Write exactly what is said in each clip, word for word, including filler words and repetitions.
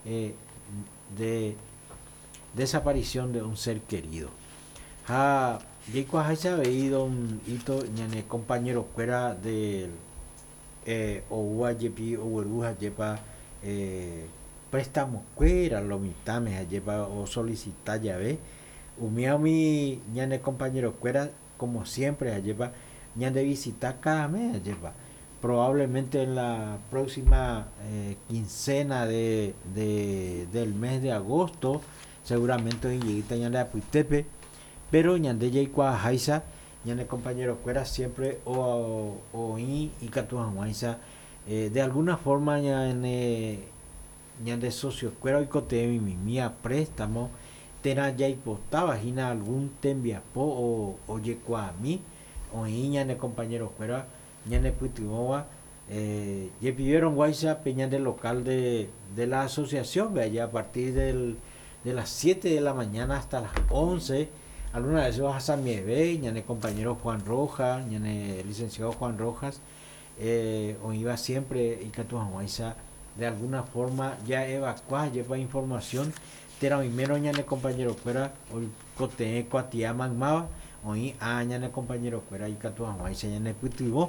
eh, de desaparición de un ser querido. Ha jaikuaaháicha avei don Ito ñane compañero-kuéra de eh, oúva jepi ogueru hajépa eh, préstamo-kuéra lo mitãme hajépa osolicita jave umi umi ñane compañero-kuéra como siempre hajépa ñande visita cada mes hajépa probablemente en la próxima eh, quincena de, de, del mes de agosto seguramente oĩjeýta ñande apytépe pero ñande jaikuaaháicha ñane compañero-kuéra siempre o oĩ ikatu hag̃uáicha eh, de alguna forma ñane ñande socio-kuéra oikotevẽmimi préstamo térã jaipotáva hína algún tembiapo o ojekuaami oĩ ñane compañero-kuéra ñanepytyvõva eh, jepivérõguáicha pe ñande local de, de la asociación allá a partir del, de las siete de la mañana hasta las once algunas veces ohasamieve ñane compañero Juan Rojas ñane licenciado Juan Rojas eh, oĩva siempre ikatu hag̃uáicha de alguna forma ya evacua jepa información térã oimérõ ñane compañero-kuéra oikotevẽ kuatia maymáva oĩ a ñane compañero-kuéra ikatu hag̃uáicha ñanepytyvõ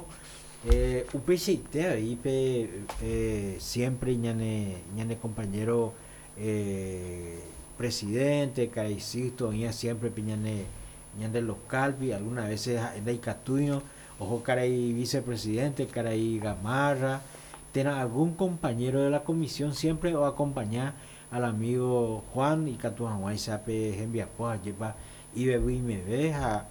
eh, upeichaite avei pe eh, siempre ñane ñane compañero eh, presidente karai Sisto oĩva siempre pe ñane ñande local-pe algunas veces ha'e ndaikatúirõ oho karai vicepresidente karai Gamarra térã algún compañero de la comisión siempre oacompaña al amigo Juan ikatu hag̃uáicha pe hembiapo hajépa ivevyimeve ha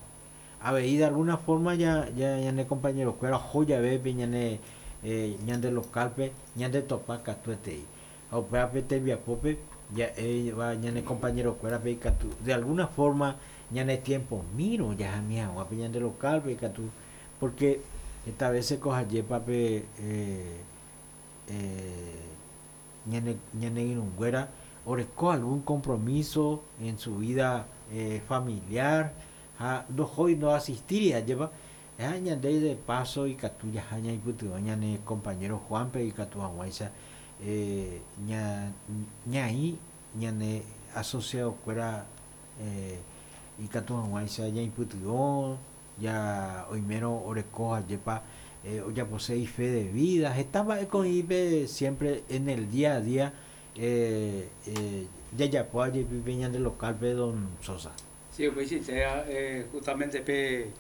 avei de alguna forma ya, ya ñane compañero-kuéra oho jave pe ñane eh, ñande local-pe ñande topa katuetei ha upévape tembiapópe ja'éva ñane compañero-kuérape ikatu de alguna forma ñane tiempo mírõ jahami hag̃ua pe ñande local-pe ikatu porque esta veces ko hajépape eh, eh, ñane ñane irũnguéra oreko algún compromiso en su vida eh, familiar ha ndohói ndoasistíri ajépa ha ñande de paso ikatu jaha ñaipytyvõ ñane compañero Juanpe ikatu hag̃uáicha eh, ña ñaĩ ñane asociado-kuéra eh, ikatu hag̃uáicha ñaipytyvõ ya oimérõ oreko hajépa eh, ojapose ife de vida heta mba'e ko'ĩpe siempre en el día a día eh, eh, jajapo jepi pe ñande local-pe don Sosa. Sí, pues sí, eh, justamente pe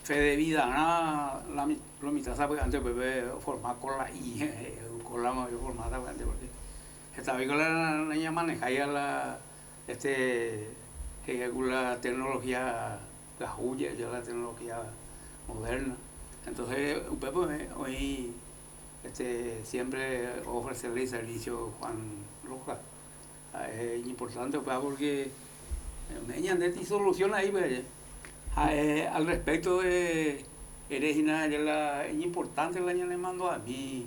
fe de vida la lo mitad sabe antes pues formar con la I con la formada antes porque esta vez con la niña maneja ya la este la tecnología la huya ya la tecnología moderna. Entonces usted pues hoy este siempre ofrecerle servicio Juan Rojas es importante pues, porque me solución ahí pues eh, al respecto de Erejina la es importante la ñane mando a mí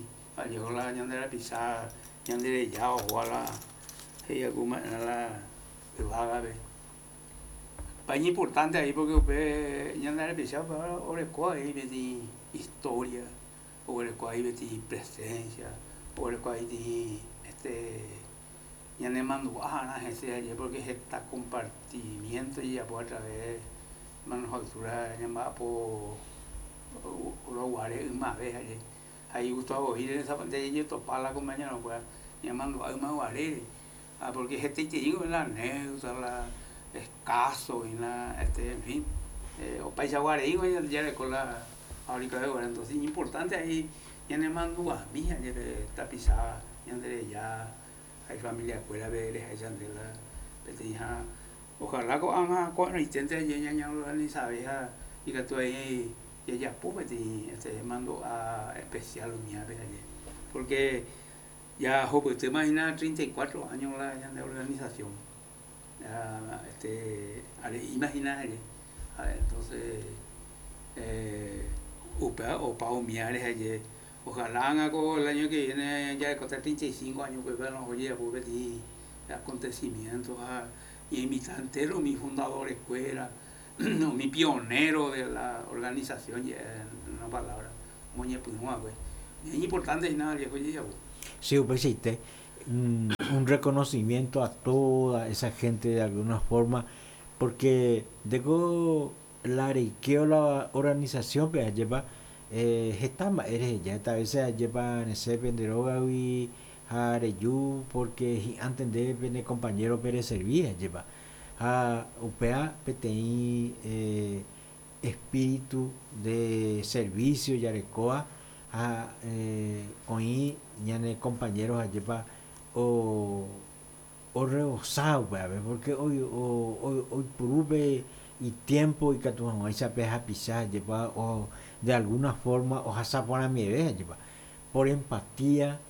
llegó la ñande la pisar ñande ya o a la ella como la vaga ve pa importante ahí porque usted ñande la pisar orekó ahí veti historia orekó ahí veti presencia orekó ahí este ñane mando a ese allí porque está compartimiento y ya por a través manufactura llamada por Uruguay una vez allí ahí Gustavo oír esa pantalla yo topar la compañera no pueda llamando a una guarere ah porque este te digo en la anécdota la escaso y la este en fin eh, o paisa guare ya ya con la fábrica de guare entonces importante ahí ya ne mando a mí ya tapizada ya ya hay familia escuela veres hay chandela peteña ojalá ko anga ko intente ya ya ya organiza y que tú ahí ya ya este este mando a especial mía porque ya pues te imaginas treinta y cuatro años la de organización ya, este imagina entonces eh upa o pa miares ayer ojalá haga el año que viene ya de contar treinta y cinco años pues bueno oye pues acontecimientos a y invitantes mi fundador escuela no, mi pionero de la organización en una palabra muy pues es importante y nada viejo ya sí pues sí un un reconocimiento a toda esa gente de alguna forma, porque deko la reikeo la organización pe ajépa eh, heta mba'e reheja heta veces ajépa resẽ pende rógagui ha reju porque hi'ãnte ndéve pene compañero pe reservi ajépa ha upéva peteĩ eh, espíritu de servicio jarekóva ha eh, oĩ ñane compañeros ajépa o orebosá upévape porque oi o oipurúpe itiempo ikatu hag̃uáicha pe hapicha ajépa o de alguna forma ohasa porãmieve ajépa por empatía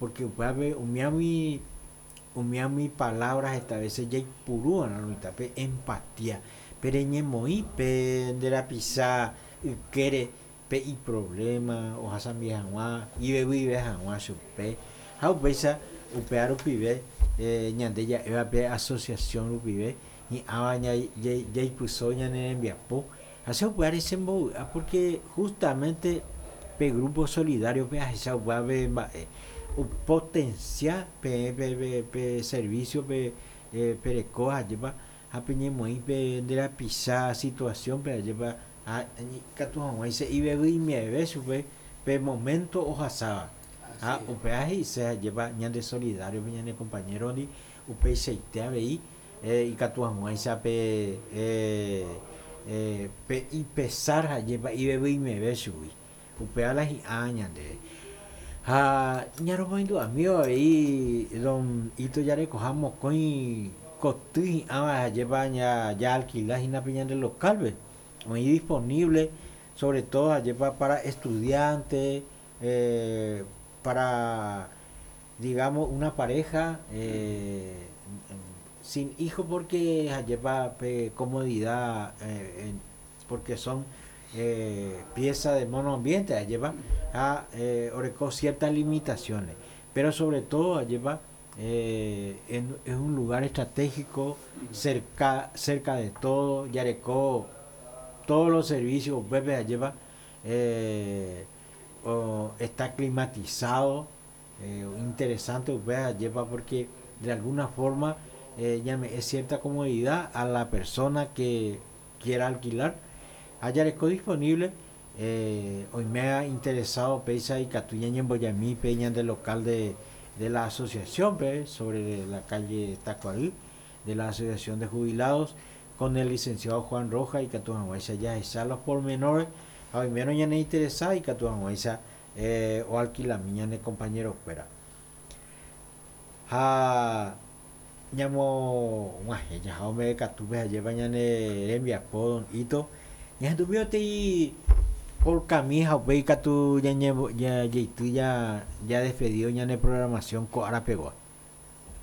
porque upévape umiagui umiagui palabras heta veces jaipurúva'erã pe empatía pe reñemoĩ pe nde rapicha ykére pe iproblema ohasami hag̃ua ivevyive hag̃ua chupe ha upéicha upéva rupive eh, ñande ja'éva pe asociación rupive hi'ãva jaipyso ñane rembiapo ha che upévare chembovy'a porque justamente pe grupo solidario pe ahecha upévape mba'e potencia pe pe pe servicio pe eh, perekóva ajépa ha peñemoĩ pe nde rapicha situación pe ajépa ha ikatu hag̃uáicha ivevyimieve chupe pe momento ohasáva ha upéva he'ise ajépa ñande solidario pe ñane compañero ndi upeichaite avei eh, ikatu hag̃uáicha pe eh, eh, pe ipesar ajépa ivevyimieve chugui upéva la hi'ã ñandéve ha ñaromoindu'ami avei don Ito jarekoha mokõi koty hi'ãva ajépa ña ya alquila hína pe ñande local-pe oĩ disponible sobre todo ajépa para estudiantes eh, para digamos una pareja eh, sin hijo porque ajépa pe comodidad eh, porque son eh, piezas de monoambiente ajépa ha eh, oreko ciertas limitaciones pero sobre todo ajépa eh, en, es un lugar estratégico cerca cerca de todo jareko todos los servicios upépe ajépa eh, o está climatizado eh, interesante upéva ajépa porque de alguna forma eh, es cierta comodidad a la persona que quiera alquilar ha jareko disponible eh, hoy me ha interesado péicha ikatu ñañembojami pe ñande local de, de la asociación pe, sobre la calle Tacuarí de la asociación de jubilados con el licenciado Juan Roja ikatu hag̃uáicha jahecha los pormenores ha oimérõ ñane interesado ikatu hag̃uáicha eh, o alquilami ñane compañero kuéra ha ñamog̃uahẽ jaha katu ajépa ñane rembiapo don Ito ñahendumi por camisa upéi katu ñañe jajeity ya ya despedido ñane programación ko arapegua.